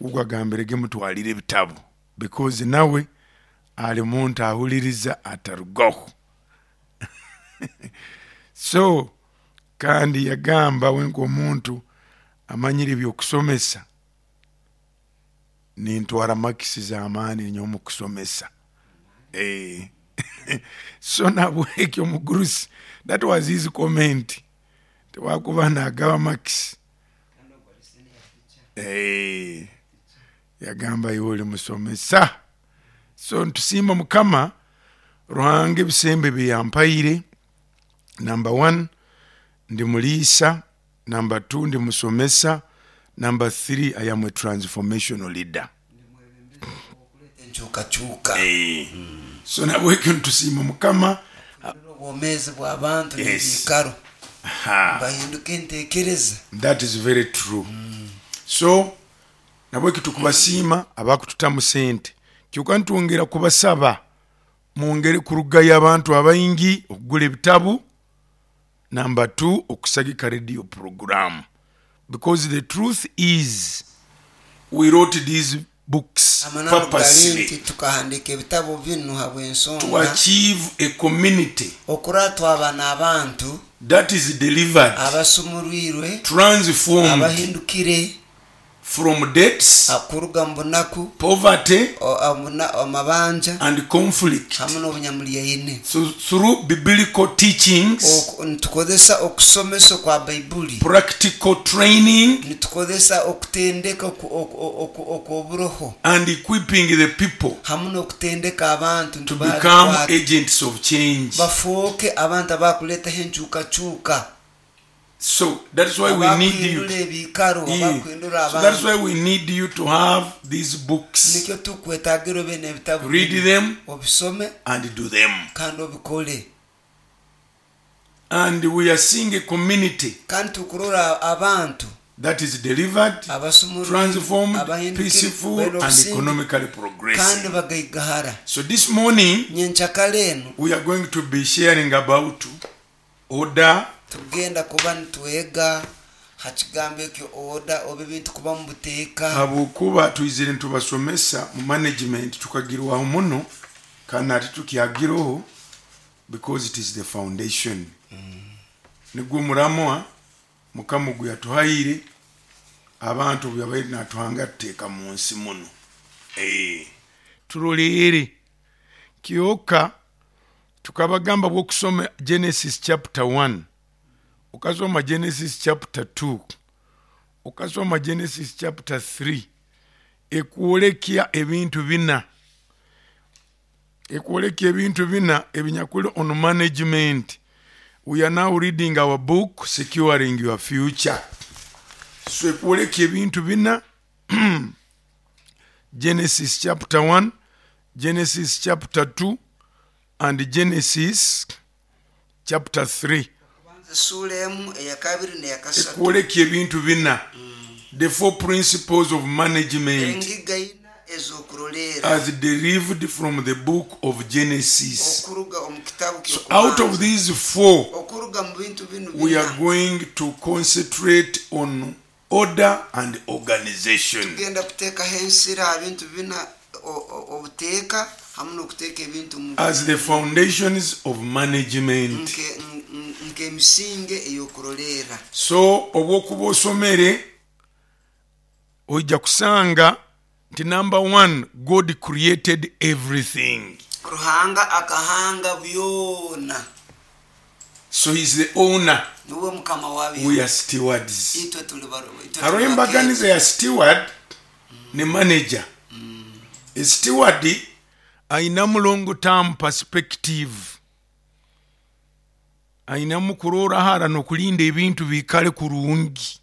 Ogu agambirege mutwalire ebitabu because nawe ali muntu ahuliriza atarugaho. So kandi yagamba we nk'omuntu amanyire ebyokusomesa, nintwara marks z'amaani nyowe omu kusomesa. So nabwekyo omugurusi, that was his comment, tiwakuba nagaba marks. Yagamba iwe oli musomesa. So nitusiima Mukama Ruhanga ebisembo ebi yampaire. Number one, ndi muriisa, number two, ndi musomesa, number three, I am a transformational leader. Enkyukakyuka. So nabwekyo nitusiima Mukama. Okuhindura obwomeezi bw'abantu n'ebiikaro. Nibahinduka entekereza. That is very true. So nabwekyo tukubasiima abakututamu sente, kyoka nitwongera kubasaba mwongere kurugayo abantu abaingi okugura ebitabu, number two, okusagika radio program, because the truth is we wrote these books Amananu gali nti purposely tukahandiika ebitabu binu to habw'ensonga achieve a community okurora twaba n'abantu that is delivered, abasumurwirwe, transformed abahindukire from debts, kuruga omu bunaku, poverty, amabanja, and conflict hamu n'obunyamulyaine. through biblical teachings, Nitukozesa okusomesa okwa Baibuli, practical training, nitukozesa okutendeka okw'oburoho, and equipping the people hamu n'okutendeka abantu to nitubaha become ebikwate agents of change. bafooke abantu abakuleetaho enkyukakyuka. So that's why we need you. Abakuhindura ebiikaro, abakuhindura So that's abantu. why we need you to have these books. Nikyo tukwetagira obe n'ebitabu Read binu, them obisome and do them. kandi obikole. And we are seeing a community Kandi tukurora abantu that is delivered, abasumurwirwe, transformed, abahindukire, peaceful, baine and obusinge, economically kandi progressing. bagaigahara. So this morning, Nyenkyakara enu we are going to be sharing about order, tugenda kuba nitwega ha kigambo ekyo order oba ebintu kuba mu buteeka. Habwokuba twizire nitubasomesa mu management tukagirwaho muno kandi nati tukyagiroho because it is the foundation. Nigwo muramwa Mukama ogu yatuhaire abantu obu yabaire natuhanga tuteeka mu nsi muno. Turoleere kyoka tukabagamba bw'okusoma Genesis chapter 1, okasoma Genesis chapter 2, okasoma Genesis chapter 3, ekwolekya ebintu bina. Ekwolekya ebintu bina ebinyakuli on management. We are now reading our book, Securing Your Future. So ekwolekya ebintu bina, Genesis chapter 1, Genesis chapter 2, and Genesis chapter 3. Okubanza esuura emu, eyakabiri n'eyakasatu. Ekwolekya ebintu bina, the four principles of management Engiga ina ez'okuroleera as derived from the book of Genesis. okuruga omu kitabu So out of ky'okubanza. these four, Okuruga mu bintu binu we are bina, going to concentrate on order and organization. tugenda kuteekaho ensira ha bintu bina, obuteeka hamu n'okuteeka ebintu mu As the foundations of management. Nk'emisinge ey'okuroleera. So obwokuba osomere oija kusanga nti number one, God created everything. Ruhanga akahanga byona. So he's the owner. Niwe mukama wabyo. We are stewards. Itwe tuli itwe Hariho tuli embaganiza bakeetu. ya steward ne manager. A steward ainamu long term perspective, ainamu kurora hara n'okulinda ebintu biikale kurungi.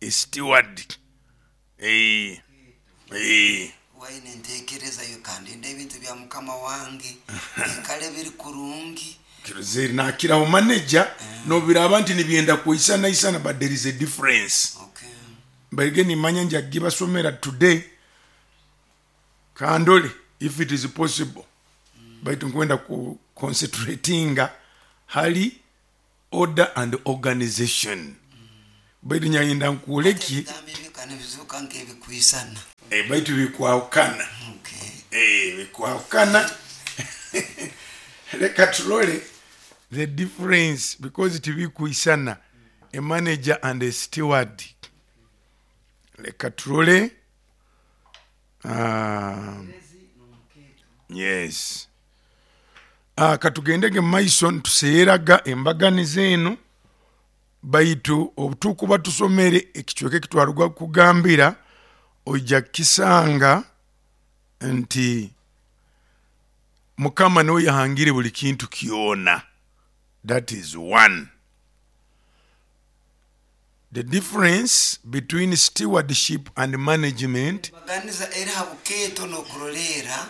A steward. Waine entekereza yo kandi ndinde ebintu bya mukama wange biikale biri kurungi. Kirozere nakiraho manager nobiraba nti nibyenda kwisana isana, but there is a difference. Mbaige nimanya njagibasomera today kandole if it is possible, baitu nkwenda ku concentratinga hali order and organization, baitu nyayenda nkwoleki Ebigambo ebyo kandi bizuuka nk'ebikwisana. Baitu bikwahukana. Bikwahukana. Leka turole the difference, because tibikwisana, a manager and a steward. Leka turole. Yes, katugendege mumaiso nituseeraga embaganiza enu, baitu obutukuba tusomere ekicweka ekitwaruga kugambira, oija kukisanga nti Mukama niwe yahangire buli kintu kyona. That is one. The difference between stewardship and management Embaganiza eri ha bukeeto n'okuroleera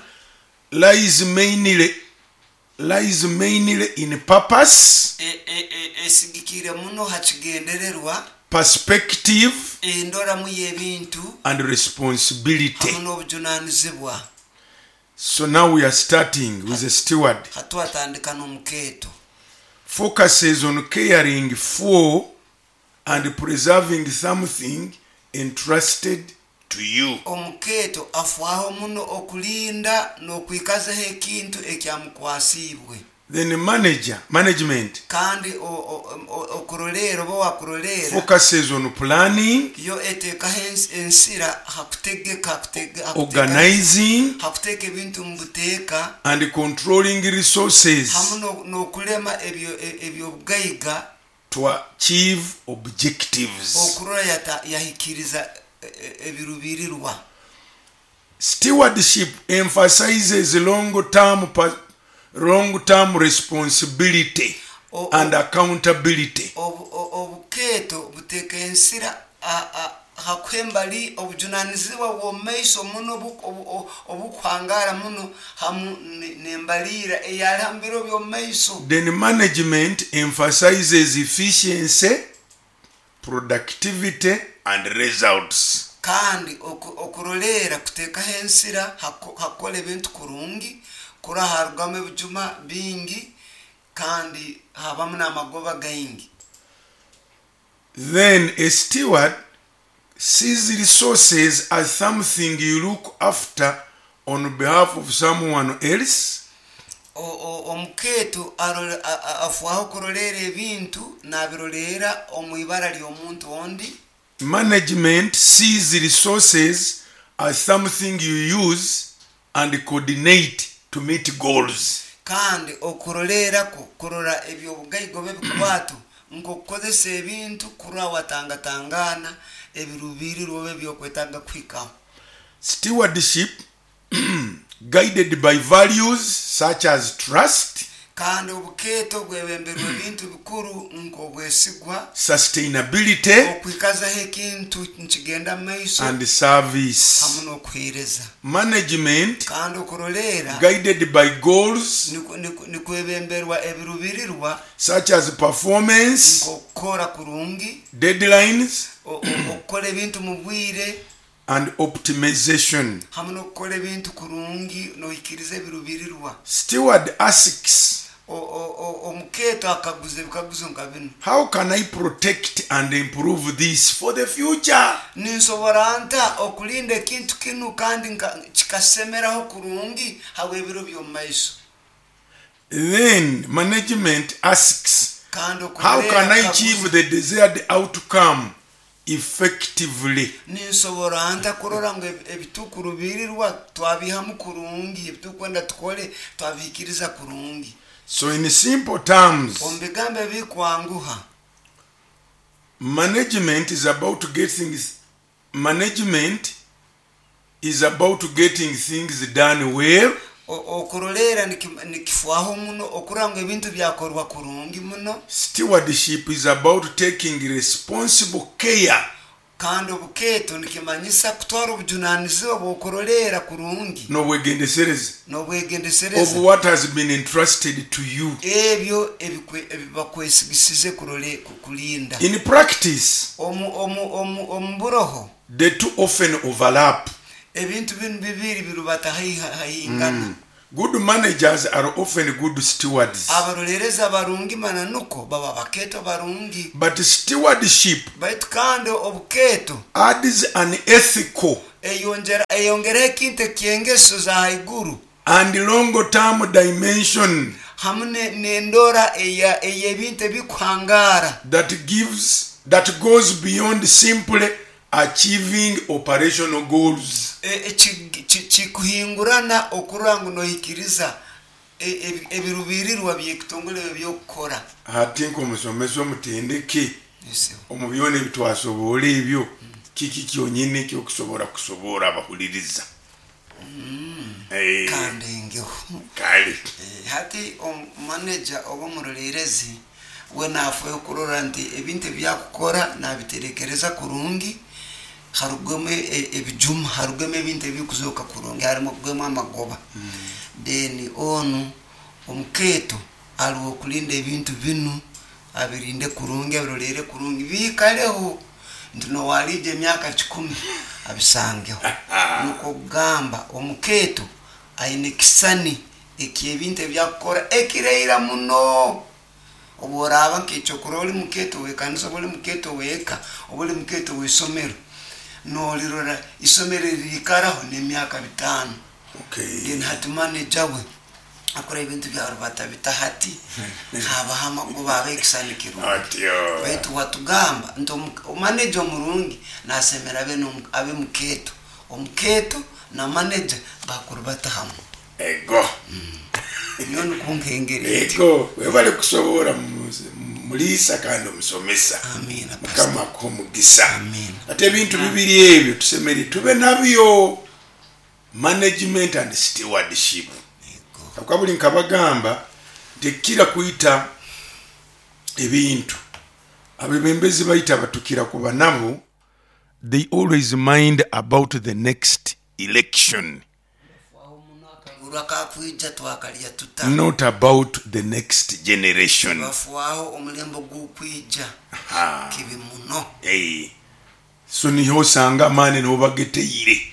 lies mainly in purpose, esigikiire muno ha kigendererwa, perspective, endoramu y'ebintu, and responsibility. Hamu n'obujunanizibwa. So now we are starting with a steward. Hatwatandika n'omukeeto. Focuses on caring for and preserving something entrusted to you. Omukeeto afwaho muno okulinda n'okwikazaho ekintu ekyamukwasiibwe. Then management Kandi okuroleera oba wakuroleera focuses on planning, yo eteekaho ensira hakutegeka organizing, hakuteeka ebintu mu buteeka and controlling resources hamu n'okulema ebyobugaiga to achieve objectives. Okurora yahikiriza ebirubirirwa. Stewardship emphasizes long-term responsibility and accountability. Obukeeto buteeka ensira hakuha embali obujunanizibwa bw'omumaiso muno obukuhangara muno hamu n'embaliira eyali ha biro by'omumaiso. Then management emphasizes efficiency, productivity, and results. Kandi okuroleera kuteekaho ensira hakukora ebintu kurungi kurora harugamu ebijuma bingi kandi habamu n'amagoba gaingi. Then a steward sees resources as something you look after on behalf of someone else. Omukeeto afwaho kuroleera ebintu nabiroleera omu ibara ly'omuntu ondi. Management sees resources as something you use and coordinate to meet goals. Kandi okuroleerako kurora ebyobugaiga oba ebikwato nk'okukozesa ebintu kurora watangatangana ebirubirirwa oba ebyokwetaaga kuhikaho. Stewardship guided by values such as trust, Kandi obukeeto bwebemberwa ebintu bikuru nk'obwesigwa, sustainability, okwikazaho ekintu nikigenda mu maiso, and service. Hamu n'okuheereza. Management Kandi okuroleera guided by goals nikwebemberwa ebirubirirwa such as performance, nk'okukora kurungi, deadlines, okukora ebintu mu bwire, and optimization. Hamu n'okukora ebintu kurungi nohikiriza ebirubirirwa. Steward asks, Omukeeto akaguza ebikaguzo nka binu: How can I protect and improve this for the future? Ninsobora nta okulinda ekintu kinu kandi kikasemeraho kurungi habw'ebiro by'omu maiso? Then management asks, Kandi How can I okuroleera achieve akaguza the desired outcome effectively? Ninsobora nta kurora ngu ebitukurubirirwa twabihamu kurungi, ebitukwenda tukole twabihikiriza kurungi? So, in simple terms, Omu bigambo ebikwanguha, management is about getting things done well, okuroleera nikifwaho muno okurora ngu ebintu byakorwa kurungi muno, stewardship is about taking responsible care kandi obukeeto nikimanyisa kutwara obujunanizibwa bw'okuroleera kurungi n'obwegendesereza of n'obwegendesereza what has been entrusted to you. Ebyo ebibakwesigisize kulinda. In practice, Omu buroho, the two often overlap. Ebintu binu bibiri birubata haihangana. Good managers are often good stewards. Abarolerezi abarungi mananuko baba bakeeto barungi. But stewardship Baitu kandi obukeeto adds an ethical Eyongera eyongeraho ekintu eky'engeso za haiguru and long term dimension hamu n'endora ey'ebintu ebikuhangaara that goes beyond simply achieving operational goals. Kikuhingurana okurora ngu nohikiriza ebirubirirwa by'ekitongole ebyokukora. Hati nk'omusomesa omutendeke omu byona ebitwasoboora ebyo, kiki kyonyini ekyokusobora kusoboora abahuliriza? Kandengeho. Kale. Hati omumaneja oba omuroleerezi we nafaayo kurora nti ebintu ebyakukora nabiterekereza kurungi, harugwemu ebijuma, harugwemu ebintu ebikuzooka kurungi, harugwemu amagoba. Then onu omukeeto aliho okulinda ebintu binu, abirinde kurungi, abiroleere kurungi, biikaleho nti nowaliija emyaka 100 abisangeho. Nukwo kugamba omukeeto aine ekisani eky'ebintu ebyakukora ekiraira muno. Obu oraaba nk'ekyokurora oli mukeeto w'ekanisa oba oli mukeeto w'eka oba oli mukeeto w'isomero, noolirora isomero eririikaraho n'emyaka 5. Then hati manager we akora ebintu byarubata bita hati habaho amagoba, habaho ekisani kirungi. Baitu watugamba nti manager omurungi nasemera abe mukeeto. Omukeeto na manager bakurubata hamu. Ego. Nyowe nukwo nkengeri nti. Ego, webale kusoboora muliisa kandi omusomesa. Amiina. Mukama akuhe omugisa. Amiina. Ate ebintu bibiri ebyo tusemeriire tube nabyo, management and stewardship. Habwokuba buli nkabagamba nti ekikira kwita ebintu, abebembezi baitu abatukira kuba nabo, they always mind about the next election. Bafaaho muno akaruru akakwija twakalya tuta. Not about the next generation. Bafaaho omulembe ogukwija kibi muno. So niho osanga amaani niho bageteire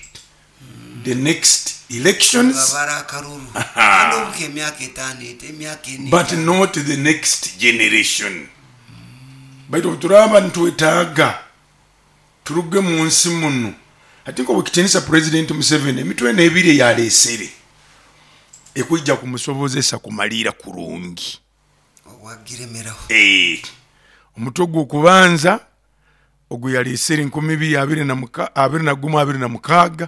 the next elections. Babara akaruru kandi obu k'emyaka 5 eti, emyaka 4. But not the next generation. Baitu obu turaaba nitwetaaga turuge mu nsi munu, hati nk'Owekitinisa President Museveni emitwe eno ebiri eyaleesere ekwija kumusobozesa kumaliira kurungi. Obwagiremeraho. Omutwe ogw'okubanza ogu yaleesere 2021 26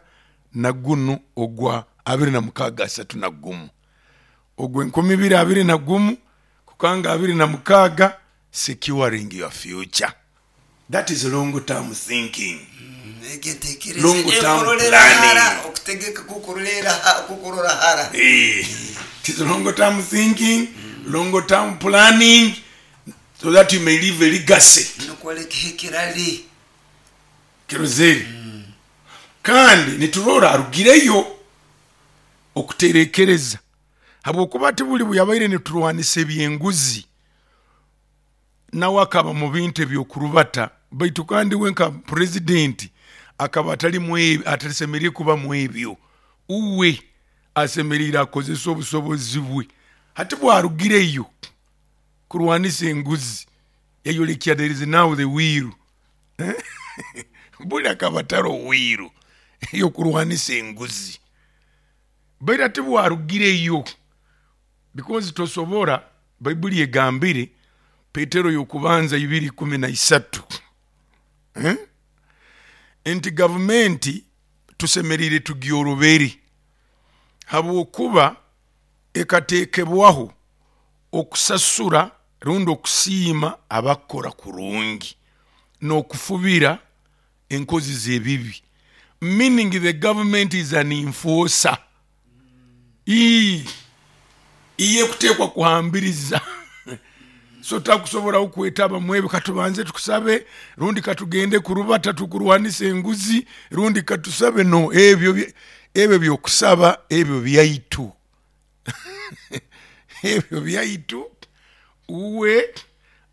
na gunu ogwa 26 31. Ogwa 2021 kukanga 26, securing your future. That is long term thinking. Egi entekereza Long term ekurolera hara, planning. okutegeka kukurora hara. It is long term thinking, long term planning, so that you may leave a legacy. Nukwo olekeho ekirali. Kirozere. Kandi niturora arugireyo okuterekereza, habwokuba ati buli buyabaire niturwanisa ebyenguzi, nawe akaba mu bintu ebyokurubata, baitu kandi we nka purezidenti akaba atali atasemeriire kuba mu ebyo. Uwe asemeriire akozesa obusobozi bwe. Hati bwarugireyo kurwanisa enguzi, yayolekya there is now the will. Buli akaba ataro will eyokurwanisa enguzi. Baitu hati bwarugireyo, because tosobora, Baibuli egambire Petero y'okubanza 2:13, nti gavumenti tusemeriire tugyorobere habwokuba ekateekebwaho okusasura rundi okusiima abakukora kurungi n'okufubira enkozi z'ebibi, meaning the government is an enforcer. Iye ekuteekwa kuhambiriza. So takusoboraho kwetaba mu ebyo, katubanze tukusabe rundi katugende kurubata tukurwanisa enguzi rundi katusabe. No, ebyo byokusaba ebyo byaitu. Ebyo byaitu. Uwe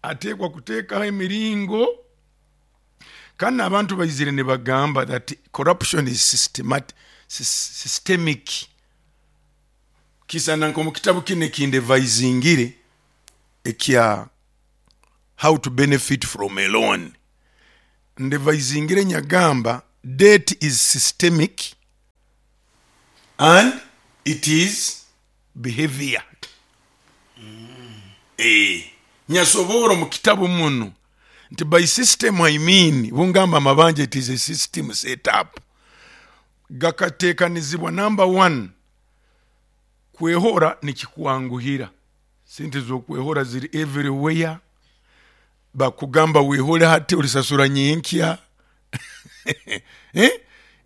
ateekwa kuteekaho emiringo. Kandi abantu baizire nibagamba that corruption is systemic. Kisana nk'omu kitabu kinu ekindevaizingire ekya How to Benefit from a Loan, ndevaizingire nyagamba. Debt is systemic and it is behavior. Nyasoboora omu kitabu munu nti by system I mean, bungamba amabanja it is a system set up. Gakateekanizibwa number one, kwehora nikikwanguhira, sente z'okwehora ziri everywhere. Bakugamba wehole hati olisasura nyenkya. Eh?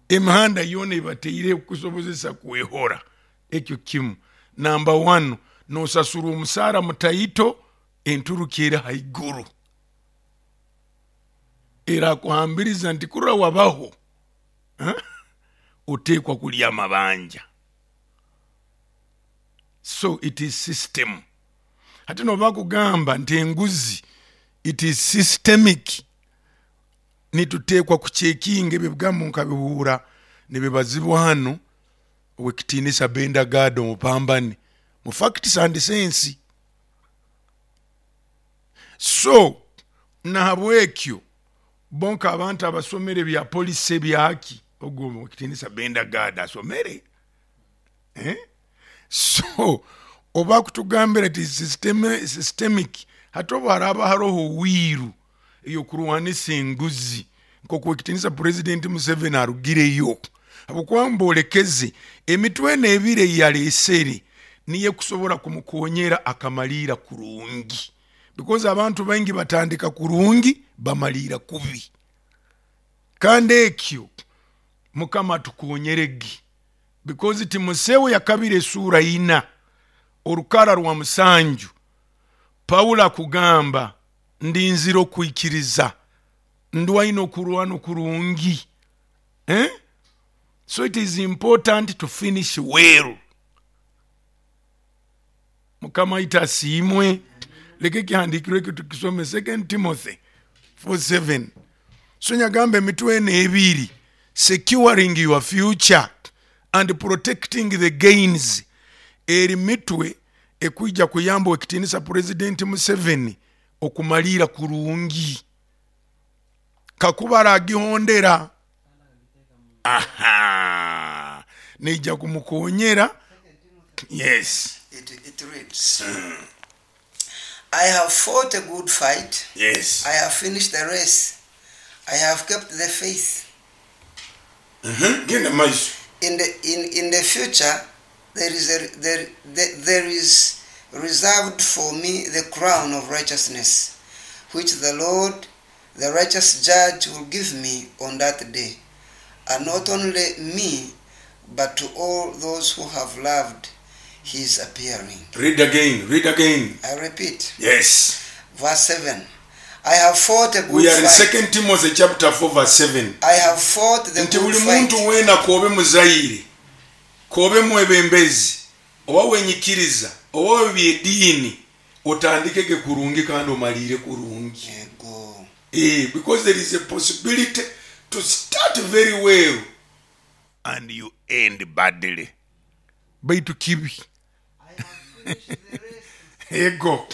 Emihanda yoona ebateire kukusobozesa kwehora. Ekyo kimu. Number one, nosasura omusaara mutaito, enturuka eri haiguru. Erakuhambiriza nti kurora wabaho, oteekwa kulya amabanja. So it is system. Hati noba kugamba nti enguzi it is systemic, nituteekwa kucekinga ebyo ebigambo nkabihuura nibibazibwa hanu owekitiinisa Benda Gad omupambani mu Facts and Sense. So nahabwekyo bonka abantu abasomere bya polisi ebyaki, ogwo owekitiinisa Benda Gad asomere. So oba kutugambira ti systemic, hati obu haraba haroho wiiru eyokurwanisa enguzi nkoku ekitinisa President Museveni arugireyo, habwokuba mbolekeze emitwe eno ebiri eyalesere niyo kusobora kumukonyera akamaliira kurungi, because abantu baingi batandika kurungi bamaliira kubi. Kandi ekyo Mukama atukonyerege, because Timosewo yakabiri esura 4 orukara rwa 7, Paulo akugamba ndinzire okwikiriza, ndwaine okurwana okurungi. So it is important to finish well. Mukama aita asiimwe. Leka ekihandikirwe ekyo tukisome, 2 Timothy 4:7. So nyagamba emitwe eno ebiri, securing your future and protecting the gains, eri mitwe ekwija kuyamba ekitinisa President Museveni okumalira kurungi. Kakuba aragihondera, aha, neija kumukonyera. Yes. It reads, I have fought a good fight. Yes. I have finished the race. I have kept the faith. Genda maiso. In the future, there is reserved for me the crown of righteousness, which the Lord, the righteous judge, will give me on that day. And not only me, but to all those who have loved his appearing. Read again, read again. I repeat. Yes. Verse 7. I have fought a good We are in fight. 2 Timothy chapter 4 verse 7. I have fought the Nti good buli fight. muntu wena kobe muzayire, kobe mwebembezi, oba wenyikiriza, oba byedini, otandikege kurungi kandi omalire kurungi. Yego. Because there is a possibility to start very well and you end badly. Baitu kibi. I have finished the race. Ego.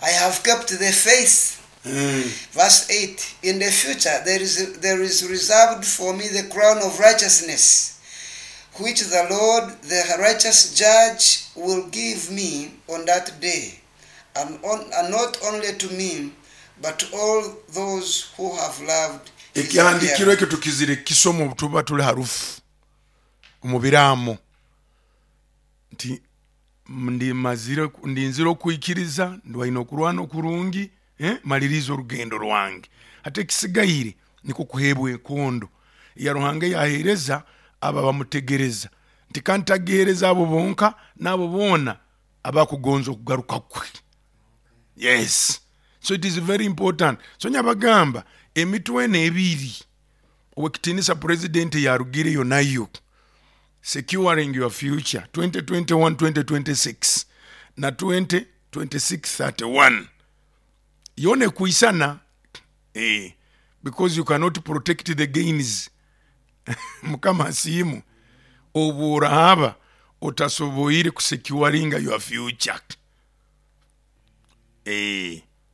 I have kept the faith. Verse 8. In the future there is reserved for me the crown of righteousness, which the Lord, the righteous judge, will give me on that day, and not only to me, but to all those who have loved his Ekihandikiro appearing. ekyo tukizire kisomo tuba tuli harufu omubiramo nti ndinzire okwikiriza, ndwaine okurwana okurungi, maliriza orugendo rwange. Ate ekisigaire niko kuheebwa enkondo ya Ruhanga yaheereza aba bamutegereza, nti kandi tagiheereza abo bonka n'abo boona abakugonza okugaruka kwe. Yes. So it is very important. So nyabagamba emitwe eno ebiri owekitinisa president yarugireyo nayo, securing your future 2021-2026 na 2026-31 yone kuisana, because you cannot protect the gains. Mukama asiimu obu orahaba otasoboire kusecuringa your future.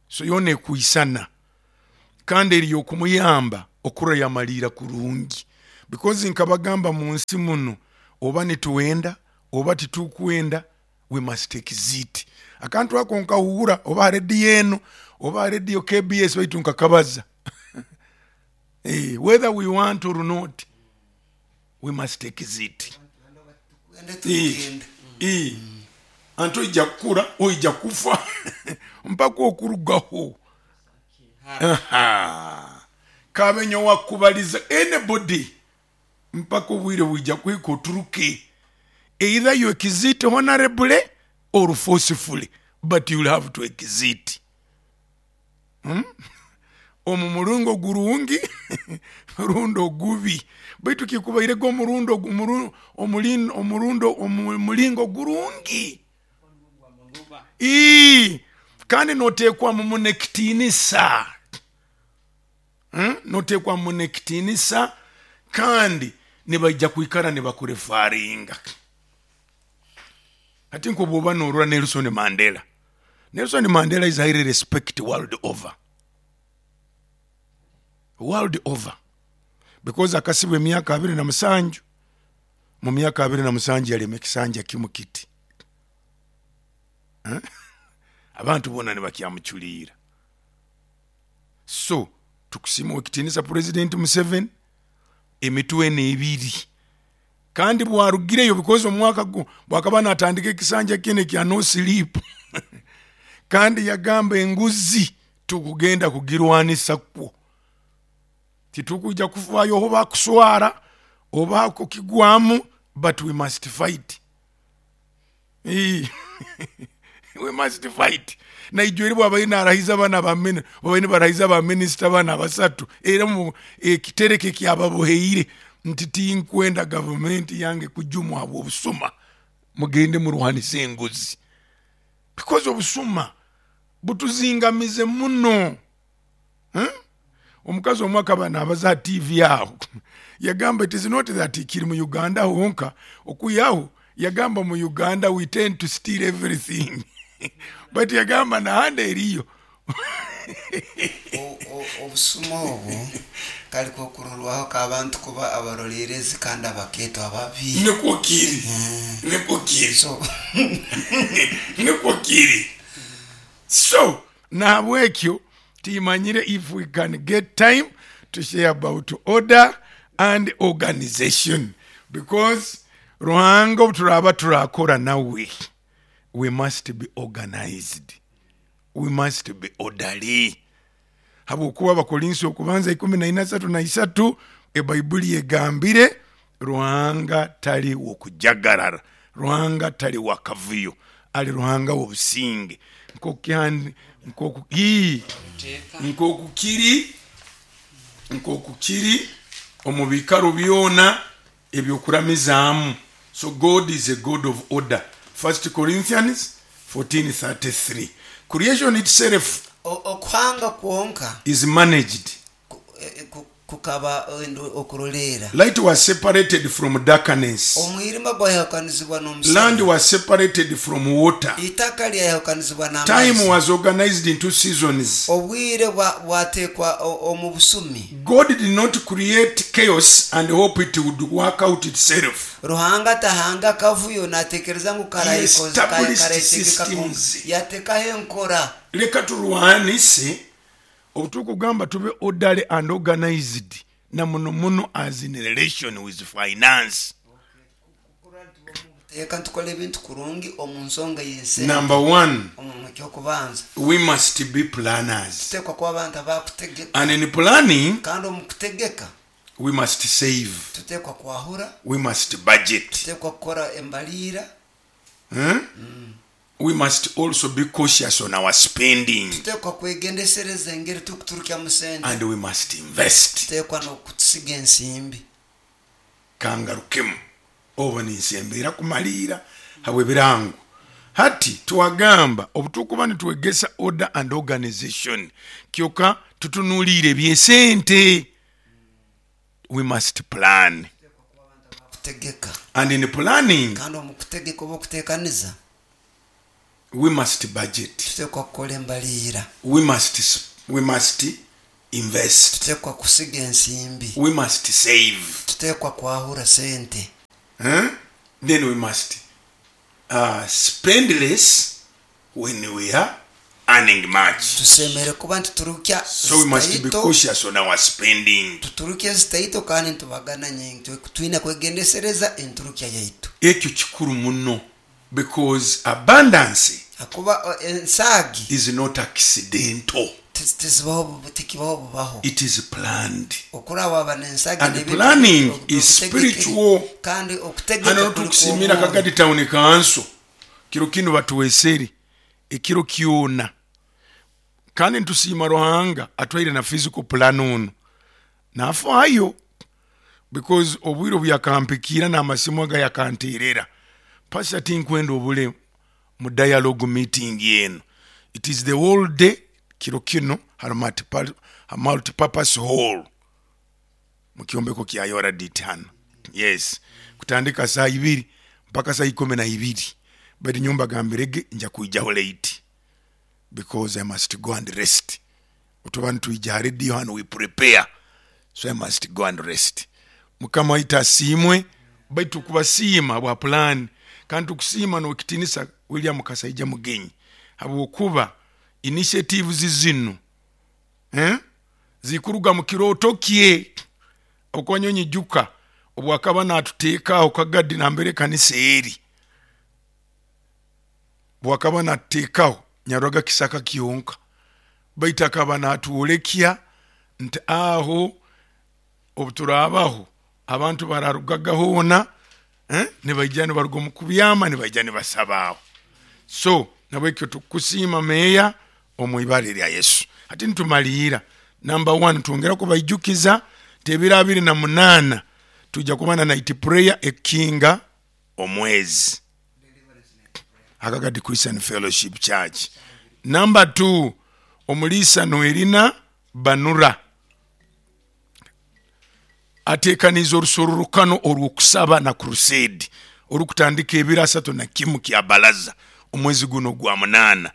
So yone kuisana kandi eri okumuyamba Okurora yamaliira kurungi, because nkabagamba mu nsi muno, oba nituwenda oba titukwenda, we must exit. Akantu ako nkahuura oba ha rediyo eno oba ha rediyo KBS, baitu nkakabaza. Whether we want or not, we must exit. Tugende tugenda. Anti oija kukura, oija kufa, mpaka okurugaho. Aha. Kabe nyowe akubaliza anybody, mpaka obwire bwija kuhika oturuke. Either you exit honorably or forcefully, but you'll have to exit. Omu muringo gurungi rundi ogubi, baitu kikubairege omurundi ogu- omuru- omulin- omurundo omu mulingo gurungi. Ii, kandi noteekwamu muno ekitiinisa. Noteekwamu muno ekitiinisa, kandi nibaija kwikara nibakurefaringa. Hati nk'obwoba norora Nelson Mandela. Nelson Mandela is highly respected world over. World over. Because akasibwa emyaka 27, mu myaka 27 yalema ekisanja kimu kiti. Abantu boona nibakyamuculiira. So tukusiima owekitiinisa President Museveni emitwe eno ebiri. Kandi bwarugireyo, because omwaka gu bwakaba natandika ekisanja kinu ekya no sleep, kandi yagamba enguzi tukugenda kugirwanisa kwo, titukwija kufaayo oba kuswara oba kukigwamu, but we must fight. We must fight. Naijweri bwabaire narahiza bana ba bwabaire nibarahiza ba minisita bana abasatu, era mu ekitereke kyababoheire nti tinkwenda gavumenti yange kujumwa habw'obusuma, mugende murwanise enguzi, because obusuma butuzingamize muno. Omukazi omwe akaba nabaza ha TV aho, yagamba it is not that kiri mu Uganda honka, okwihaho yagamba mu Uganda we tend to steal everything, but yagamba nahandi eriyo. Obusuma obu kali kokurorwaho k'abantu kuba abaroleerezi kandi abakeeto ababi. Nikwo kiri, nikwo kiri. So nikwo kiri. So nahabwekyo timanyire if we can get time to share about order and organization, because Ruhanga obu turaba turakora nawe, we must be organized, we must be orderly. Habwokuba Abakorinso okubanza ikumi na ina asatu na isatu, ebaibuli egambire Ruhanga tali wokujagarara, Ruhanga tali wakavuyo, ali Ruhanga w'obusinge. Nkoku kiri, nkoku kiri omu biikaro byona ebyokuramizaamu. So God is a God of order. 1 Corinthians 14:33. Creation itself Okuhanga kwonka is managed. Kukaba okuroleera. Light was separated from darkness. Omwirima gwayahukanizibwa Land n'omusana. was separated from water. Itaka lyayahukanizibwa Time n'amaizi. was organized into seasons. Obwire bwateekwa omu busumi. God did not create chaos and hope it would work out itself. Ruhanga atahanga akavuyo natekereza ngu He established karayetegeka. systems. Yatekaho enkora. Leka turwanise obu tukugamba tube orderly and organized, na muno muno as in relation with finance. Teeka ntukora ebintu kurungi omu nsonga y'ensente. Number one, Omu kyokubanza, we must be planners. tuteekwa kuba abantu abakutegeka. And in planning, Kandi omu kutegeka, we must save. tuteekwa kwahura, We must budget. tuteekwa kukora embaliira. We must also be cautious on our spending. Tuteekwa kwegendesereza engeri tukuturukyamu sente. And we must invest. Tuteekwa n'okutusiga ensimbi. Kangarukemu obo ninsembeera kumaliira habw'ebirango. Hati twagamba obu tukuba nitwegesa order and organization, kyoka tutunuliire ebyesente. We must plan. Kutegeka. And in planning, Kandi omu kutegeka oba okuteekaniza, we must budget. tuteekwa kukora embaliira. We must invest. Tutekwa kusiga ensimbi. We must save. Tutekwa kwahura sente. Huh? Then we must spend less when we are earning much. Tusemere kuba nituturukya So we must be zitaito cautious on our spending. Tuturukye zitaito kandi ntubagana nyingi. Twine kwegendesereza enturukya yaitu. Ekyo kikuru muno because abundance Akuba ensaagi is not accidental. Tizibaho, tikibaho bubaho. It is planned. Okuraba aba n'ensaagi And n'ebintu planning is obutegekere. spiritual. Kandi okutegeka Hano kuli tukusimira kw'omwoyo. Kagadi Town Council kiro kinu batuweseri ekiro kyona, kandi ntusiima Ruhanga atwaire na physical plan ono nafaayo, because obwire obuyakampikira n'amasimu aga yakanterera, pastor, tinkwenda obule mu dialogue meeting eno. It is the whole day kiro kino hari multipurpose hall mu kyombeko kya Yoradit hano, yes, kutandika saa 2 mpaka saa 12. But nyumba gambirege nja kuijaho late because I must go and rest. Otuba nituija radio hano, we prepare, so I must go and rest. Mukama waitu asiimwe. Baitu kubasiima bwa plan, kandi tukusiima n'okitinisa William Kasaija Mugenyi habwokuba initiatives zinu, eh? Zikuruga mu kirooto kye. Okwanyonyi juka obwakaba natuteekaho Kagadi nambere kanisa eri, bwakaba natuteekaho nyaroga kisaka kyonka, baitu akaba natuolekya nti aho obuturabaho abantu bararugaga hoona, eh? Nibaija nibaruga omu kubyama, nibaija nibasabaaho. So nabwekyo tukusiima meeya omu ibara erya Yesu. Hati nitumaliira, number one, twongera kubaijukiza nti ebiro 28 tujja kuba na night prayer ekinga omwezi Akagadi Christian Fellowship Church. Number two, omuliisa Noelina Banura atekaniza orusororokano orw'okusaba na crusade orukutandika ebiro 31 kya balaza omwezi guno gwa 8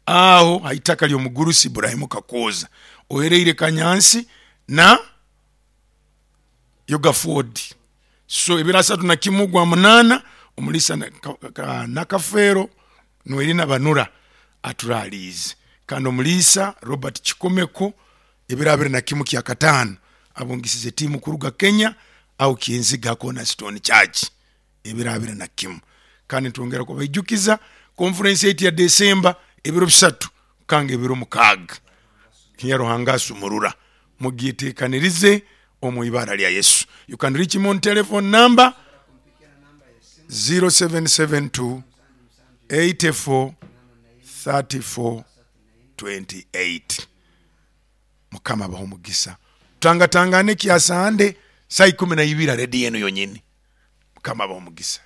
aho haitaka ly'omugurusi Ibrahimu Kakoza ohereire Kanyansi na Yoga Ford. So ebiro 31 gwa 8 omulisa Nakafeero Noelina Banura aturaliize. Kandi omuliisa Robert Kikomeko ebiro 21 kya 5 abungisize tiimu kuruga Kenya au Kinziga Cornerstone Church ebiro 21. Kandi ntwongera kubaijukiza conference yaitu ya December ebiro 3 kanga ebiro 6 Kinyaruhanga asumurura, mugyetekanirize omu ibara lya Yesu. You can reach him on telephone number 0772 84 34 28. Mukama abahe omugisa. Tutangatangane kyasande saa 12 redi yenu yonyini. Mukama abahe omugisa.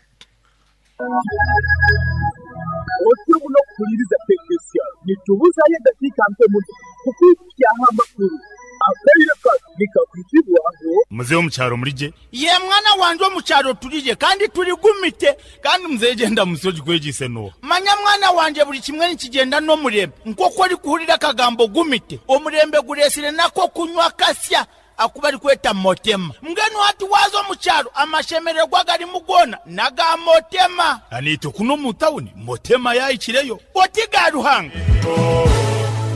Otyo muno kuhuliriza Tekesia, nitubuzayo eddakiika nto muno kukwikyaho amakulu akaire kano nikakwitibwaho. Muzehe omukyaro murije? Ye mwana wanje, omukyaro turije kandi turigumite kandi. Muzehe, genda musoji kwegise no. Manya mwana wanje, buli kimwe nikigenda n'omurembe. Nk'oku ori kuhurira akagambo gumite, omurembe guresire nako kunywa kasya akuba ari kweta motema. Mbwenu hati waza omukyaro, amashemererwa garimu gona naga motema. Anite kuno mu tawuni motema yayikireyo. Oti ga Ruhanga.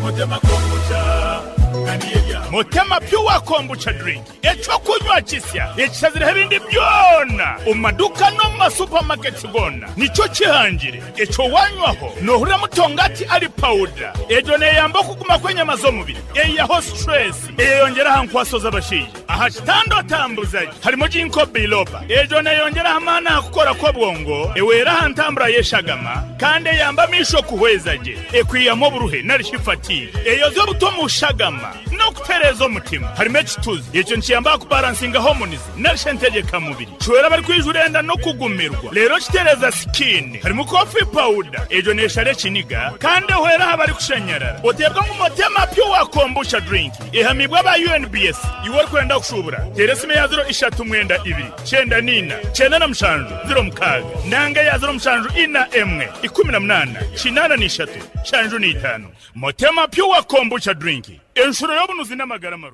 Motema kombucha. Motema Pure Kombucha drink, ekyokunywa kisya ekishazireho ebindi byona omu maduka no mu masupamaketi gona. Nicyo kihangire ekyo wanywaho nohurira mutongati ari pawuda. Egyo neyamba okuguma kw'enyama z'omubiri, eyiyaho stress, eyeyongeraho nkwaso z'abashaija aha kitanda otambuzaje. Harimo ginkgo biloba, egyo neyongeraho amaani aha kukora kw'obwongo, ewera aha ntambura y'eshagama kandi eyamba amisho kuhweza gye, ekwiyamu oburuhe narishi fatigue, eyoza obuto mu shagama n'okutereeza omutima. Harimo ekituzi, ekyo nikiyamba kubalansinga hormones narishi entegekamubiri, kiwera bari kwijura enda no kugumirwa, rero kitereza skin. Harimo coffee powder, egyo neshara ekiniga kandi ehwera aha bari kushanyarara. Otebwa ngu Motema Pure Kombucha drink ehamibwa aba UNBS. Iwe orikwenda kushubura, tera esimu ya 039 94 97 06 nanga ya 0741 18 83 75. Motema Pure Kombucha drink. Enshuro y'obunuzi n'amagara marungi.